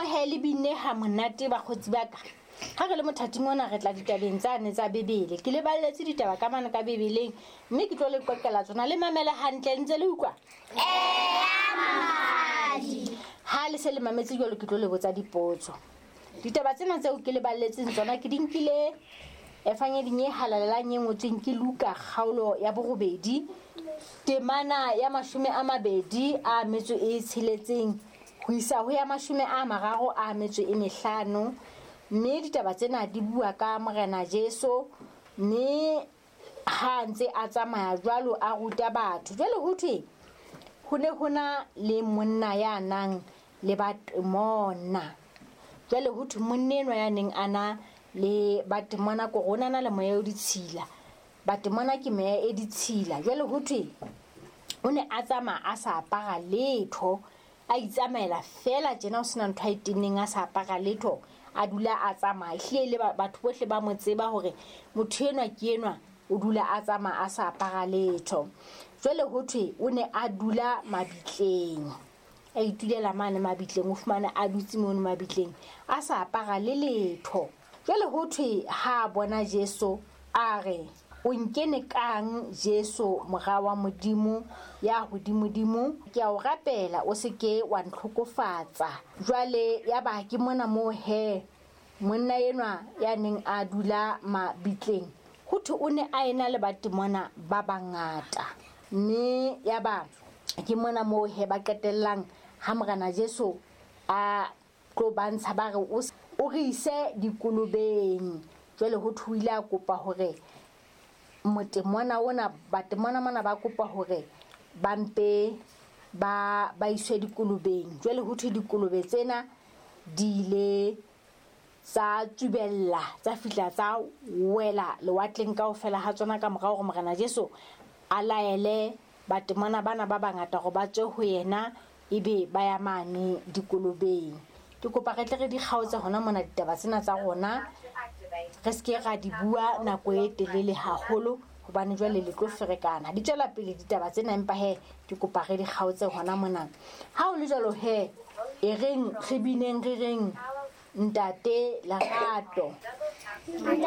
he le binne ha monate bakgotsi ba ka. Ha re le mothating ona re tla ditabeng tsane tsa Bibele. Ke le balletse ditaba ka mane ka Bibeleng mme ke tlo le qoqela tsona le mamele hantle ntse le utlwa. Ha le se le mametse jwalo ke tlo le botsa dipotso. Ditaba tsena tseo ke le balletseng tsona ke di nkile efangeding e halalelang e ngotsweng ke Luka kgaolo ya borobedi temana ya 26 ho isa ho ya 35, mme ditaba tsena di bua ka Morena Jesu mme ha ntse a tsamaya jwalo a ruta batho. Jwale ho thwe ho ne ho na le monna ya nang le batemona. Jwale ho thwe monna enwa ya neng a na le batemona ko rona na le moya o ditshila. Batemona ke meya e ditshila. Jwale ho thwe o ne a tsamaya a sa apara letho, a itsamaela fela tjena ho sena ntho a e tenneng, a sa apara letho, a dula a tsamaya. Ehlile le batho bohle ba mo tseba hore motho enwa ke enwa o dula a tsamaya a sa apara letho. Jwale ho thwe o ne a dula mabitleng, a itulela mane mabitleng, o fumane a dutse mono mabitleng a sa apara le letho. Jwale ho thwe ha a bona Jesu a re, o nkene kang Jesu mora wa Modimo ya hodimodimo? Ke a o rapela o se ke wa ntlhokofatsa. Jwale ya ba ke mona moo he monna enwa ya neng a dula mabitleng, ho thwe o ne a ena le batemona ba bangata. Mme ya ba ke mona moo he ba qetellang ha Morena Jesu a tlo ba ntsha ba re o re ise dikolobeng. Jwale ho thwe o ile a kopa hore motemona ona, batemona mona ba kopa hore ba mpe ba iswe dikolobeng. Jwale ho thwe dikolobe tsena di ile tsa tsubella, tsa fihla tsa wela lewatleng kaofela ha tsona ka morao hore Morena Jesu a laele batemona bana ba bangata hore ba tswe ho yena ebe ba ya mane dikolobeng. Ke kopa re tle re di kgaotse hona mona ditaba tsena tsa rona, re se ke ra di bua nako e telele haholo hobane jwale le tlo ferekana. Di tswela pele ditaba tsena, empa he ke kopa re di kgaotse hona mona. Ha o le jwalo he, e reng re bineng re reng Ntate Lerato.